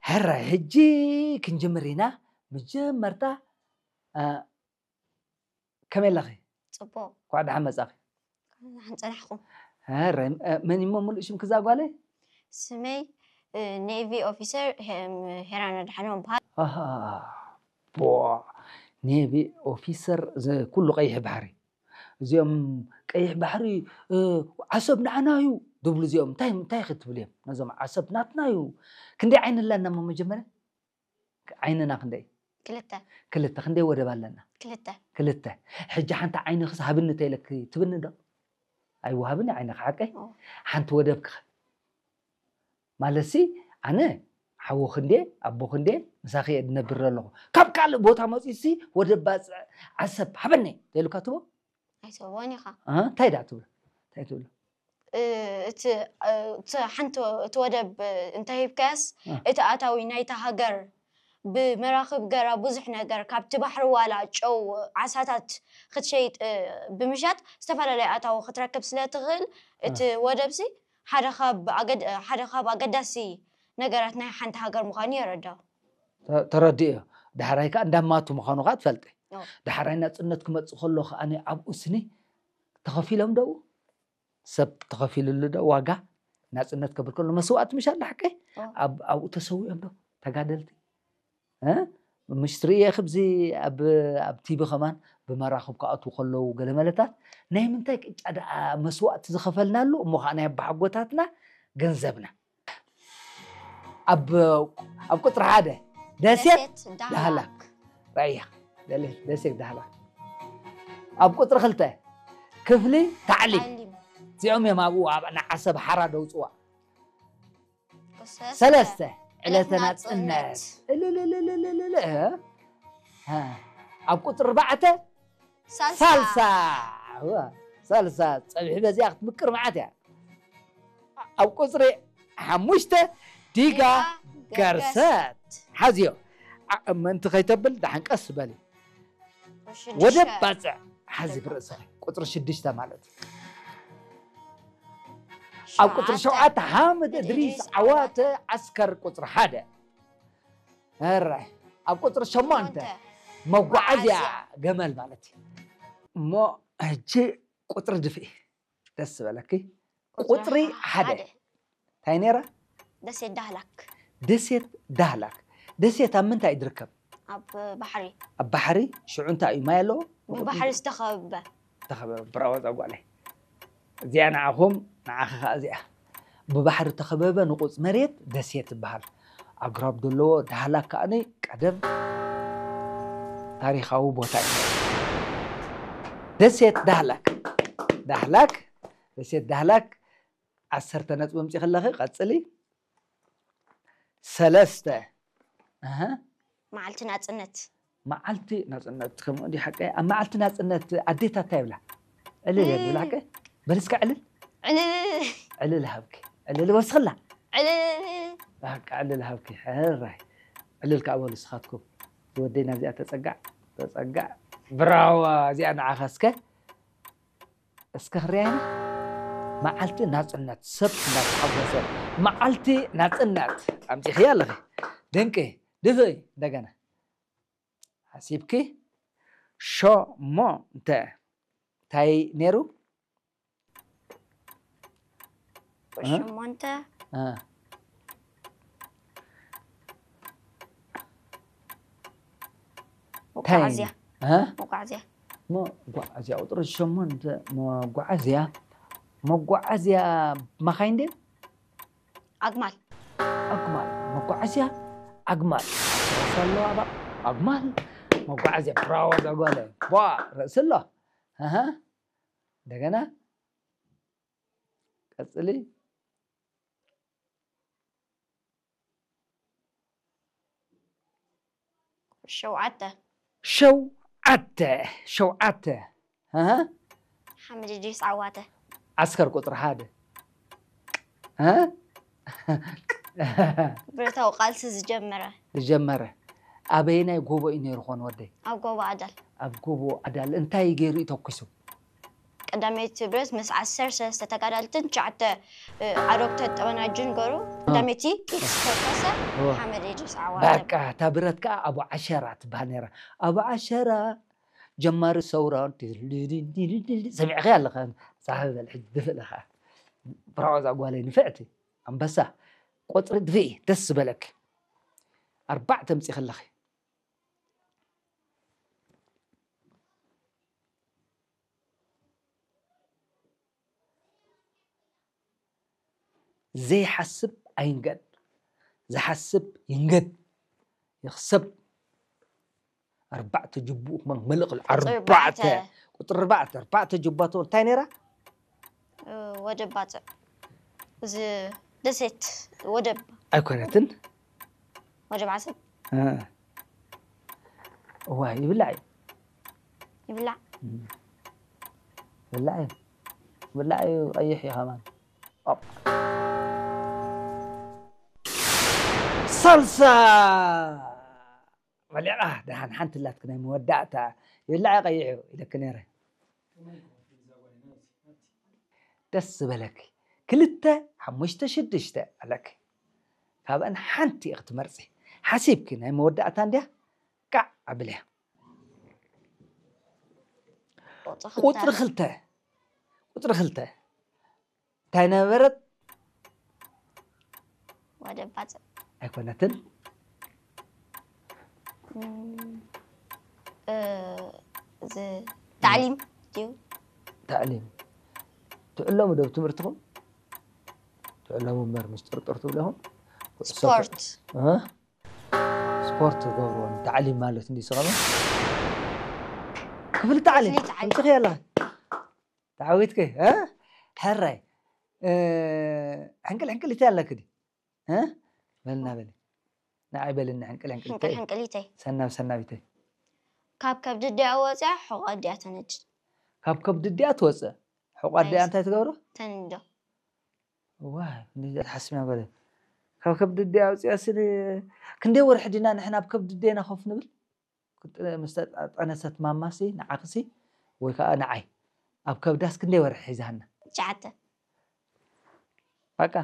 ሕራይ ሕጂ ክንጅምር ኢና። መጀመርታ እ፣ ከመይ ኣለኺ? ጽቡቕ። እንኳዕ ደሓን መጻኺ። ደሓን ጸናሕኩም። ሕራይ እ፣ መን እሞ ምሉእ ሽምኪ እዛ ጓለይ? ስመይ እ፣ ኔቪ ኦፊሰር ሄ- ሄራን ኣድሓኖም በሃል። ኣሃ፣ ቦ፣ ኔቪ ኦፊሰር ዘ- ኩሉ ቀይሕ ባሕሪ። እዚኦም ቀይሕ ባሕሪ እ፣ ዓሰብ ንዓና እዩ ድብሉ። እዚኦም እንታይ እንታይ ክትብል እዮም? ነዞም ዓሰብ ናትና እዩ። ክንደይ ዓይኒ ኣለና እሞ መጀመርያ ዓይንና ክንደይ? ክልተ ክልተ። ክንደይ ወደብ ኣለና? ክልተ ክልተ። ሕጂ ሓንቲ ዓይኒ ክስ ሃብኒ ተይለኪ ትብኒ ዶ? ኣይወሃብን ዓይኒ ሓቀይ። ኦ። ሓንቲ ወደብ ክኸ ማለትሲ ኣነ ሓወኺ እንዴ ኣቦኺ እንዴ ምሳኺ እየ ዝነብር ዘለኹ። ካብ ካልእ ቦታ መፂኡሲ ወደብ ባፅዕ ዓሰብ ሃበኒ ተይሉካ ትቦ? ኣይትህቦን ኢኻ። እ፣ እንታይ ደኣ ትብሎ? እንታይ ትብሎ? እ፣ እቲ እ፣ እቲ ሓንቲ እቲ ወደብ እ፣ እንተሂብካያስ እ። እቲ ኣታዊ ናይታ ሃገር ብመራኽብ ገራ ብዙሕ ነገር ካብቲ ባሕሪ ዋላ ጨው ዓሳታት ክትሸይጥ እ፣ ብምሻጥ ዝተፈላለዩ ኣታዊ ክትረክብ ስለ ትኽእል እቲ ወደብሲ ሓደ ካብ ኣገድ- ሓደ ካብ ኣገዳሲ ነገራት ናይ ሓንቲ ሃገር ምዃኑ የረዳ። ተ- ተረዲኦ። ዳሕራይ ከዓ እንዳማቱ ምዃኑ ከዓ ትፈልጢ። ኦ። ዳሕራይ ናፅነት ክመፅእ ከሎ ከዓ ኣብኡ ስኒ ተኸፊሎም ደው ሰብ ተኸፊልሉ ዶ ዋጋ ናፅነት ከብል ከሎ መስዋእቲ ምሽ ኣለ ሓቀይ ኦ። ኣብ ኣብኡ ተሰዊኦም ዶ ተጋደልቲ እ? ምሽ ትርእየ ክብዚ ኣብ ኣብ ቲቪ ከማን ብመራኽብ ክኣትዉ ከለዉ ገለ መለታት ናይ ምንታይ ቅጫ ደኣ መስዋእቲ ዝኸፈልናሉ እሞ ከዓ ናይ ኣባሓጎታትና ገንዘብና ኣብ ኣብ ቁፅሪ ሓደ ደሴት ደሴት ዳህላክ ዳህላክ ራያ ደለ- ደሴት ዳህላክ ኣብ ቁፅሪ ክልተ ክፍሊ ታዕሊም ታዕሊም እዚኦም እዮም ኣብኡ ኣብ ንዓሰብ ሓራ ደውፅዋ ሰለስተ ሰለስተ ዕለተ ዕለተ ናፅነት ናፅነት። እልልልልልልል እ? እ። ኣብ ቁፅሪ ኣርባዕተ ሳልሳ ሳልሳ እዋ፣ ሳልሳ ፀብሒ በዚኣ ክትምቅር መዓት እያ ኣብ ቁፅሪ ሓሙሽተ ዲጋ ዲጋ ገርሰት ሓዝዮ ዓ- ምእንቲ ከይተብል ደሓን ቀስ በሊ ሽዱሽተ ወደብ ባፅዕ ሓዚ ብርእስኺ ቁፅሪ ሽዱሽተ ማለት እዩ ኣብ ቁፅሪ ሸውዓተ ሓምድ እድሪስ ዓዋተ ዓስከር ቁፅሪ ሓደ ራይ ኣብ ቁፅሪ ሸሞንተ መጓዓዝያ ገመል ማለት እዩ እሞ ሕጂ ቁፅሪ ድፍኢ ደስ ዝበለኪ ቁፅሪ ሓደ እንታይ ነይራ ደሴት ዳህላክ ደሴት ዳህላክ ደሴት ኣብ ምንታይ እዩ ዝርከብ ኣብ ባሕሪ ኣብ ባሕሪ ሽዑ እንታይ እዩ ማይ ኣለዎ ብባሕሪ ዝተኸበበ ተኸበበ ብራወ ዛጓለይ እዚኣ ንዓኹም ንዓኺ ከዓ እዚኣ ብባሕሪ ተኸበበ ንቁፅ መሬት ደሴት ይበሃል ኣግራብ ዘለዎ ዳህላክ ከዓኒ ቀደም ታሪኻዊ ቦታ እዩ ደሴት ዳህላክ ዳህላክ ደሴት ዳህላክ ዓሰርተ ነጥቢ ምፂ ከለኺ ቀፅሊ ሰለስተ ኣሃ መዓልቲ ናፅነት መዓልቲ ናፅነት ከምኡ እንዲህ ሓቀ ኣብ መዓልቲ ናፅነት ኣዴታት እንታይ ይብላ ዕልል እየ ዝብላ ሓቀ በልስካ ዕልል ዕልል ዕልል ሃብኪ ዕልል ወስኽላ ዕልል በቃ ዕልል ሃብኪ ሕራይ ዕልል ከዓ በሉ ስኻትኩም ዝወደይ ናብዚኣ ተፀጋዕ ተፀጋዕ ብራዋ እዚኣ ንዓኻ እስከ እስከ ክርያና መዓልቲ ናፅነት ሰብ እንዳተሓጎሰ መዓልቲ ናፅነት ኣምፂኽያ ኣለኺ ድንቂ ድፍኢ እንደገና ሓሲብኪ ሸሞንተ እንታይ ነይሩ ሸሞንተ እ፣ እንታይ መጓዓዝያ እ? መጓዓዝያ መጓዓዝያ ቁፅሪ ሸሞንተ መጓዓዝያ መጓዓዝያ መኻይን ድየን ኣግማል ኣግማል መጓዓዝያ ኣግማል ራሱ ኣለዋ ባ ኣግማል መጓዓዝያ ብራዋ ዛጓለ ቧ ርእሲ ኣሎ ኣሃ እንደገና ቀፅሊ ሸውዓተ ሸውዓተ ሸውዓተ ኣሃ ሓምድ ድሪስ ዓዋተ ዓስከር ቁፅሪ ሓደ እ? ብረታዊ ቃልሲ ዝጀመረ ዝጀመረ ኣበየናይ ጎቦ እዩ ነይሩ ኾን ወደይ ኣብ ጎቦ ኣዳል ኣብ ጎቦ ኣዳል እንታይ ገይሩ እዩ ተኩሱ ቀዳመይቲ ብረት ምስ ዓሰርተ ሰለስተ ተጋዳልትን ትሽዓተ ዓረብተ ጠበናጅን ገሩ ቀዳመይቲ ኢክስ ተኮሰ። ሓመድ ኢድሪስ ዓዋተ። በቃ እታ ብረት ከዓ ኣቡ ዓሸራ ትበሃል ነይራ። ኣቡ ዓሸራ ጀማሪ ሰውራ። ሰሚዕኸ ኣለኻ? ፃሕ በል ሕጂ ድፍእ ለኻ። ብራዖ እዛ ጓለይ ንፍዕቲ ኣንበሳ። ቆፅሪ ድፍኢ ደስ ዝበለክ። ኣርባዕተ ምፂ ከለኺ ዘይሓስብ ኣይንገድ፣ ዝሓስብ ይንገድ። ይኽሰብ። ኣርባዕተ ጅቡኡ ክመን መልእኽ ኣርባዕተ። ቁፅሪ ኣርባዕተ ኣርባዕተ ጅባቶ እንታይ ነይራ? ወደብ ባፅዕ፣ እዚ ደሴት ወደብ ኣይኮነትን። ወደብ ዓሰብ እዋ ይብላዕ እዩ። ይብላዕ። ብላዕ እዩ። ብላዕ እዩ። ቀይሕ እዩ ከማን። ሳልሳ በሊቓ ደሓን ሓንቲ ላትክ ናይ መወዳእታ። ይብላዕ ቀይሕ እዩ ኢለክ ነይረ። ደስ ዝበለክ ክልተ ሓሙሽተ ሽዱሽተ ኣለክ። ካብአን ሓንቲ ኢክ ትመርፂ። ሓሲብኪ ናይ መወዳእታ እንድያ። ቃዕ ኣብልያ። ቁፅሪ ክልተ። ቁፅሪ ክልተ እንታይ ነበረት? ወደብ ባፅዕ ኣይኮነትን። እዚ ታዕሊም ድዩ? ታዕሊም ትዕለሙ ዶ ብትምህርትኹም? ትዕለሙ እምበር ምስ ጥርጥር ትብለኹም። ስፖርት ስፖርት ገብርዎ ታዕሊም ማለት እንዲ ስቐመ ክፍሊ ታዕሊም ክፍሊ ታዕሊም። እንጥኺ ኣለኻ ተዓዊትኪ። ሕራይ ሕንቅል ሕንቅል ይታይ ኣለክ ዲ በልና በሊ ንዓይ በልኒ ሕንቅል ሕንቅል ሕንቅል ሕንቅሊተይ ሰናብ ሰናቢተይ ካብ ከብዲ ድያ ወፅያ ሕቆ ድያ ተነድድ ካብ ከብዲ ድያ ትወፅእ ሕቋ ድያ እንታይ ትገብሮ ተንዶ ዋይ እንዴት ሓስብና በለ ካብ ከብዲ ድያ ኣውፅያ ስል ክንደይ ወርሒ ዲና ንሕና ኣብ ከብዲ ዴና ኮፍ ንብል ምስ ጠነሰት ማማሲ ንዓኽሲ ወይ ከዓ ንዓይ ኣብ ከብዳስ ክንደይ ወርሒ ሒዛና ትሽዓተ በቃ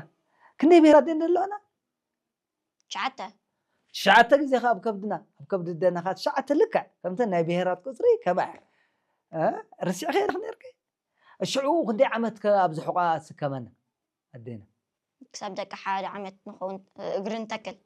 ክንደይ ብሄራት ደን ኣለዋና ትሽዓተ ትሽዓተ ግዜ ከዓ ኣብ ከብድና ኣብ ከብዲ ደና ከዓ ትሽዓተ ልክዕ ከምተን ናይ ብሄራት ቁፅሪ ከማያ ርስዕኸ ኢልክ ነርክ ሽዑ ክንደይ ዓመት ኣብዚ ሕቋ ስከመና ኣዴና ክሳብ ደቂ ሓደ ዓመት ንኸውን እግሪ ንተክል